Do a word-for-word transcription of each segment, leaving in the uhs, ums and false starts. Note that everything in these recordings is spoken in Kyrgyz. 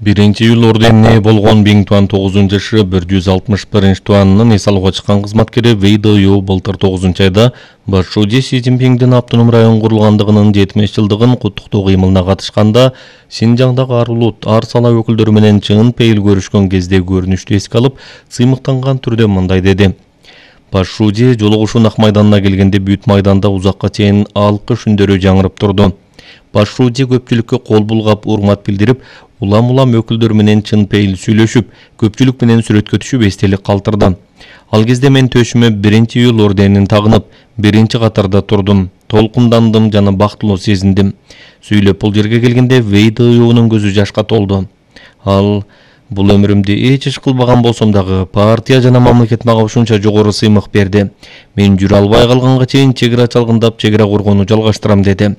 Биринчи июль орденине болгон Биң Туан тогузунчу жашы бир жүз алтымыш биринчи туанынын эс алууга чыккан кызматкери Вэй Дэюу былтыр тогузунчу айда баш шуудже Си Цзиньпиңдин автоном район курулгандыгынын жетимиш жылдыгын куттуктоо кыймылына катышканда Синжаңдагы ар улут, ар сала өкүлдөрү менен чын пейил көрүшкөн кезде көрүнүштү эске алып, сыймыктанган түрдө мындай деди. Баш шуудже жолугушуу Ак майданына келгенде бүт майданда узакка чейин алкыш үндөрү жаңырып турду. Баш шуудже көпчүлүккө кол булгап, урмат билдирип, улам-улам өкүлдөр менен чын пейил сүйлөшүп, көпчүлүк менен сүрөткө түшүп эстелик калтырды. Ал кезде мен төшүмө биринчи июль орденин тагынып, биринчи катарда турдум, толкундандым жана бактылуу сезиндим. Сүйлөп бул жерге келгенде Вэй Дэюунун көзү жашка толду. Ал бул өмүрүмдө эч иш кылбаган болсом дагы партия жана мамлекет мага ушунча жогору сыймык берди. Мен жүрө албай калганга чейин чек ара чалгындап, чек ара коргоону жалгаштырам деди.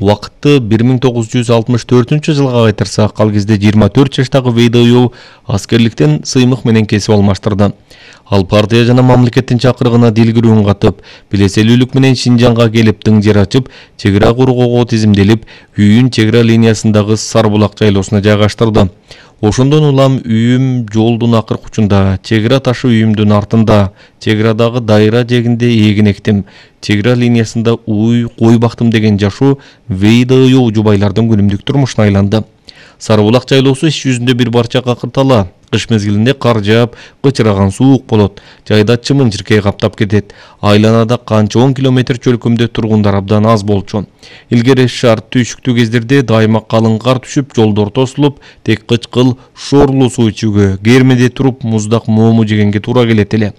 Убакытты бир миң тогуз жүз алтымыш төртүнчү жылга кайтарсак, ал кезде жыйырма төрт жаштагы Вэй Дэюу аскерликтен сыймык менен кесип алмаштырды. Ал партия жана мамлекеттин чакырыгына дилгирүүн катып, билеселүүлүк менен Шинжаңга келип тың жер ачып, чек ара коргоого тизимделип, үйүн чек ара линиясындагы Сарбулак жайлоосуна жайгаштырды. Ошондон улам үйүм жолдун акыркы учунда, чек ара ташы үйүмдүн артында, чек арадагы дайра жегинде эгин эктим, чек ара линиясында уй, кой бактым деген жашоо Вэй Дэюу жубайлардын күнүмдүк турмушуна айланды. Сарбулак жайлоосу иш жүзүндө бир барча какыртала. Кыш мезгилинде кар жаап, кычыраган суук болот. Жайда чымын-чиркей каптап кетет. Айланада канча он километр чөлкөмдө тургундар абдан аз болчу. Илгери шарт түйшүктүү кездерде дайыма калың кар түшүп, жолдор тосулуп, тек кычкыл, шоорлуу суу ичүүгө, кермеде туруп муздак моому жегенге туура келет эле.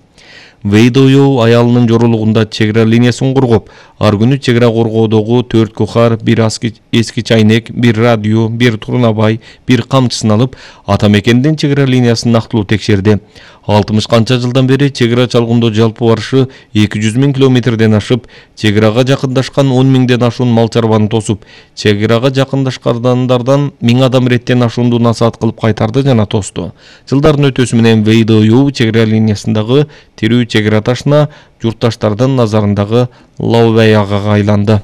Вэй Дэюу аялынын жорулугунда чек ара линиясын коргоп, ар күнү чек ара коргоодогу төрт кухар, бир эски чайнек, бир радио, бир турнабай, бир камчысын алып, ата мекендин чек ара линиясын нактылуу текшерди. алтымыш канча жылдан бери чек ара чалгындоо жалпы барышы эки жүз миң километрден ашып, чек арага жакындашкан он миңден ашуун мал чарбаны тосуп, чек арага жакындашкандардан миң адам реттен ашуунду насаат кылып кайтарды жана тосту. Жылдардын өтөсү менен Вэй Дэюу чек ара линиясындагы тирүү чек ара ташына журтташтардын назарындагы лаубаягага айланды.